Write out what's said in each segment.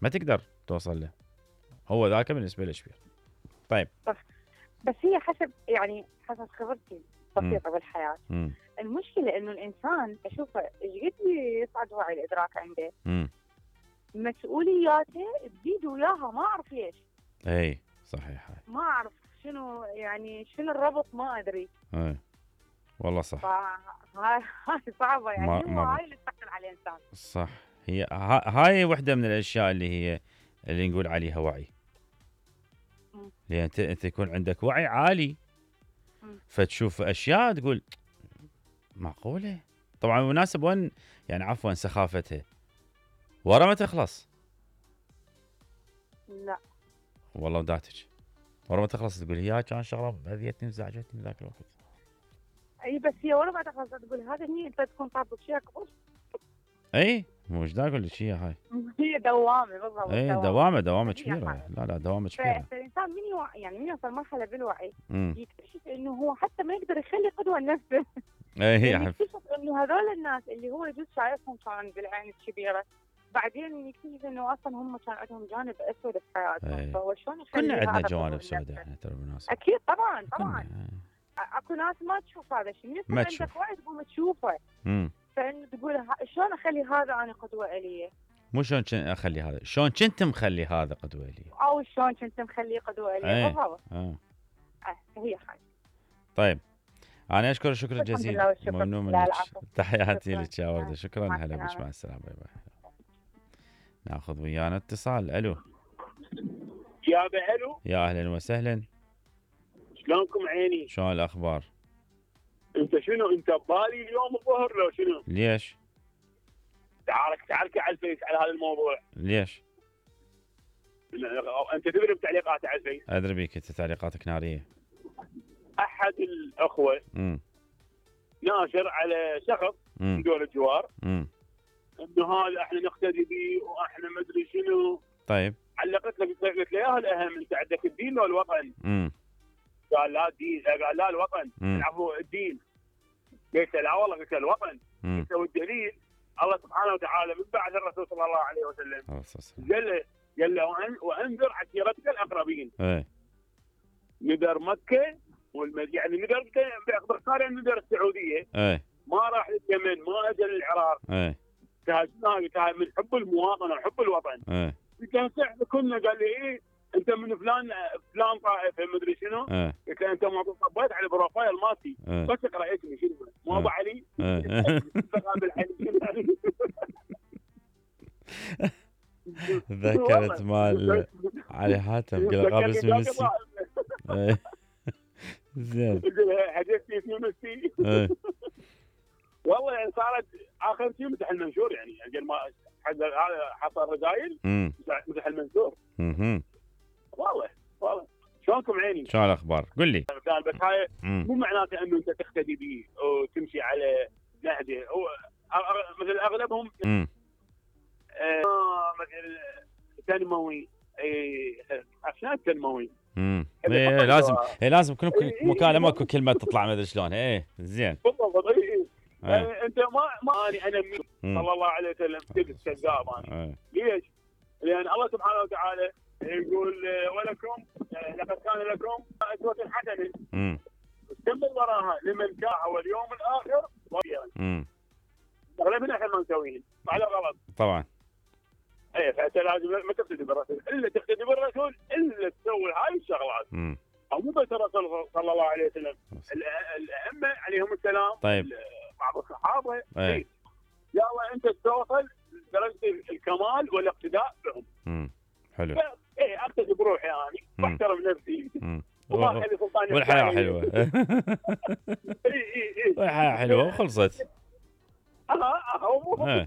ما تقدر توصل له، هو ذاك بالنسبه له كبير. طيب بس هي حسب خبرتي بسيطه بالحياه. المشكله انه الانسان اشوفه ايش قد يصعد وعي الادراك عنده، مسؤولياته تزيد وياها، ما اعرف ليش. اي صحيح، هاي ما اعرف شنو شنو الربط، ما ادري. اي والله صح. هاي صعبه هاي اللي تثقل على الانسان. صح، هي هاي وحده من الاشياء اللي نقول عليها وعي. لان انت يكون عندك وعي عالي، فتشوف اشياء تقول معقوله. طبعا مناسب وين عفوا سخافتها ورا ما تخلص. لا والله وداتك ورا ما تخلص تقول هي كان شغله اذيتني وزعجتني ذاك الوقت. اي بس هي ورا ما تخلص تقول هذا هي انت تكون طابق شيء اكبر. اي مو ايش دا اقول لك هاي هي دوامه بالضبط. اي دوامه كبيره. لا دوامه كبيره. فالانسان من يوصل مرحله بالوعي يكتشف انه هو حتى ما يقدر يخلي قدوه لنفسه. يكتشف انه هذول الناس اللي هو يجوز شايفهم كان بالعين الكبيره، بعدين يكتشف انه اصلا هم كان عندهم جانب اسود في حياتهم. فهو شلون يخلي كلنا عندنا جوانب سوداء احنا ترى بالمناسبه. اكيد طبعا. اكو ناس ما تشوف هذا الشيء، من عندك وعي تقوم تشوفه. فانه تقول شلون اخلي هذا انا قدوه الي، مو شلون اخلي هذا، شلون كنت مخلي هذا قدوه الي، او شلون كنت مخليه قدوه الي. بالضبط. هي حاجه. طيب انا اشكرك شكرا جزيلا، ممنون منك. تحياتي لك يا ورده. شكرا. هلا بك، مع السلامه. باي باي. ناخذ ويانا اتصال. الو يا الو، يا اهلا وسهلا. شلونكم عيني؟ شلون الاخبار؟ انت شنو انت ببالي اليوم الظهر لو شنو؟ ليش؟ تعالك على الفيس على هذا الموضوع. ليش؟ انت تدري بتعليقات على الفيس؟ ادري بيك انت تعليقاتك ناريه. احد الاخوه ناشر على شخص من دول الجوار انه هذا احنا نقتدي به واحنا ما ادري شنو. طيب علقت له قلت له يا الاهم انت عندك الدين ولا الوطن؟ قال لا الدين. قال لا الوطن. العفو الدين. قلت لا والله، قلت الوطن. قلت والدليل الله سبحانه وتعالى من بعد الرسول صلى الله عليه وسلم قال له وانذر عشيرتك الاقربين. ندر مكه ندر باختصار ندر السعوديه. ما راح لليمن، ما اجى للعراق. تهاجمنا من حب المواطنه وحب الوطن. قلت له احنا كنا. قال لي ايه انت من فلان طائفه ما ادري شنو. قلت له انت ما طبيت على البروفايل مالتي بس اقرا اسمي شنو مو ابو علي. ذكرت مال علي حاتم قال قابل اسم ميسي. زين حدثتني اسم ميسي. والله يعني صارت اخر شيء مسح المنشور قبل ما هذا حصل رسائل مسح المنشور. والله شلونكم عيني؟ شلون الاخبار؟ قل لي. بس هاي مو معناته انه انت تقتدي به وتمشي على نهجه. مثل اغلبهم مثل تنموي. عشان التنموي لازم كل مكالمه اكو كلمه تطلع ما ادري شلون. زين بالضبط. انت ما انا صلى الله عليه وسلم كذاب انا. ليش؟ لان الله سبحانه وتعالى يقول ولكم لقد كان لكم اسوه حسنه. كمل وراها لمن جاء واليوم الاخر وغيره. اغلبنا احنا ما مسويين على غلط طبعا. فانت لازم ما تقتدي بالرسول الا تقتدي بالرسول الا تسوي هاي الشغلات. او مو بس الرسول صلى الله عليه وسلم، الائمه عليهم السلام. طيب بعض الصحابه. يلا انت توصل درجه الكمال والاقتداء بهم. حلو. اقتدي بروحي اني واحترم نفسي. وما اخلي سلطاني. والحياه حلوه. والحياه حلوه وخلصت. هو مو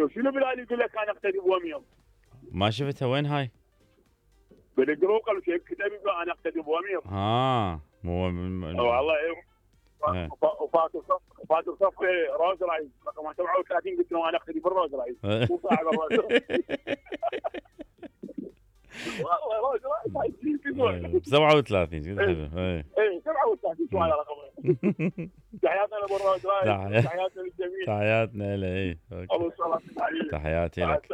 شنو بلال يقول لك انا اقتدي بوميض؟ ما شفتها وين هاي؟ بالجروب قالوا كتبي انا اقتدي بوميض. مو والله وفاتوا صف روز رايز رقم 37 قلت له انا اقتدي بالروز رايز مو صاحب الروز. والله روز رايز 37 كذا حلو. 37 شو هذا رقم. تحياتنا لابو الروز رايز. تحياتنا للجميع. تحياتنا له. الله يسلمك. تحياتي لك.